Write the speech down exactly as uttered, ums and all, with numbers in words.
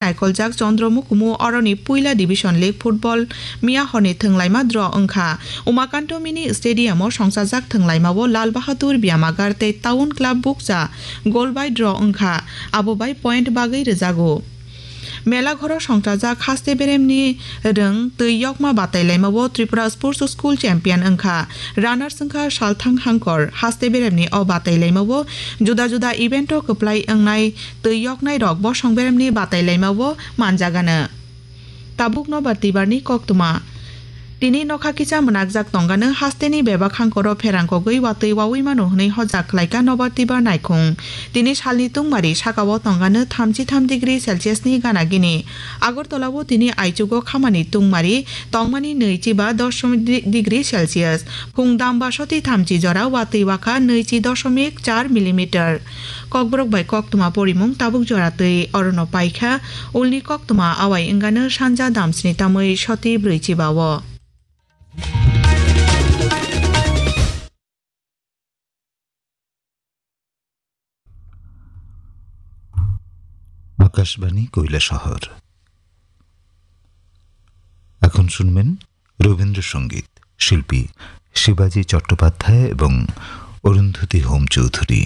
naikoljak Chandra Mukumu oroni puila Division League football miya horni thwnglaima draw wngkha. Umakanto Mini Stadium o songchajak thwnglaima o Lal Bahadur Byamagar tei Town Club bukcha goal bai draw wngkha, abo bai point bagwi rwjago. Mela ghoro songchajak haste beremni rwng twi yokma batailaima o Tripura Sports School champion wngkha. Runners wngkha Salthang Hangkor. Haste beremni o batailaima o juda juda event o kwplai wngnai twi yoknai rok bosong beremni batailaima o manjagano. Tabuk nobar tibarni koktwma. Tini nokha kisa mwnakjak tongano hasteni bebak hangkoro pherang kogwi watwi wawi mano hwnwi hojak khlaika nobar tibar naikhung. Tini salni tungmari sakao tongano thamchi tham degree Celsius ni gana gini. Agartala o tini aichugo khamani tungmari tongmani nwi chiba dosh degree Celsius. Phung damba soti thamchi jora watwi wakha nwi chi doshomik char millimeter. Kokborok bai koktwma porimung tabuk jora twi orono paikha, ulni koktwma awai wngano sanja damsni tamwi soti brwi chiba o. Akashvani কৈলাসহর। এখন শুনবেন রবীন্দ্রসঙ্গীত, শিল্পী শিবাজী চট্টোপাধ্যায় এবং অরুন্ধতী হোম চৌধুরী।